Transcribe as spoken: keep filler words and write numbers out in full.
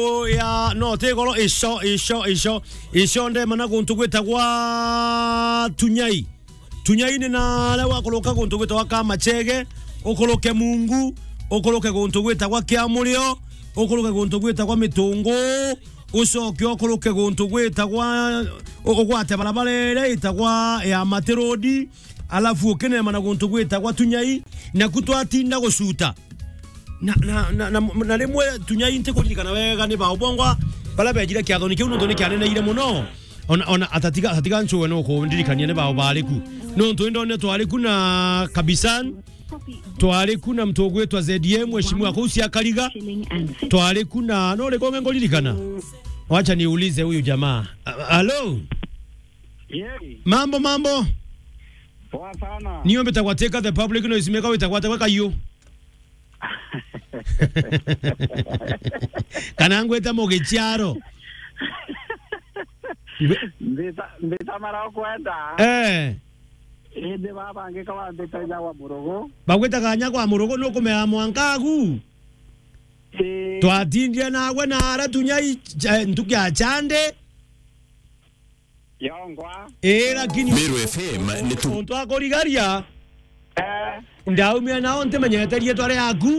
Oya, no, ti goro, ico, ico, ico, ico ndemana guntu gwitagwa Tunyai. Tunyai ni naria wakuruka guntu gwitagwa Kamachege, ukuruke Mungu, ukuruke guntu gwitagwa Kiamurio, ukuruke guntu gwitagwa Mitungu, ucoke ukuruke guntu gwitagwa, u-, ugwate barabara iria itagwa ya Mati Road, alafu ukinema na guntu gwitagwa Tunyai, naku twatinda gucuta. Na, na, na, na, na rimwe Tunyai ntikuririkana wega ni bao bongwa baria bejire kiathoni kiu, nontu ni kianeneire mono. Ona, ona atatiga, atatiga ncuwe no kundirikania ni bao bari ku. Nontu indone twari ku na Kabisan, twari ku na mtu ugwitwa Z M, mheshimiwa kuu cia Kariga. Twari ku na, no rikonge nguririkana? Wacha niulize huyu jamaa. A-, alo? Yeri. Mambo, mambo. Poa sana. Niyo mbitagwa Teka the Public Noise Maker, witagwa Teka Kayu. Kana ngwite Mugichiaro. Ngwe- Mbita, mbita mara ukwenda. Eh. Indi baba angika wambita nyagwa murugu. Bagwitaga nyagwa murugu, nukumea mwankagu? Ii. Twatindire nawe na ara Tunyai cha-, ntuki ya chande. Yongwa. Ii, lakini Meru F M ni tu- untu akurigaria. Eh. Ndaumire nao ntimenyete riitwa riaku.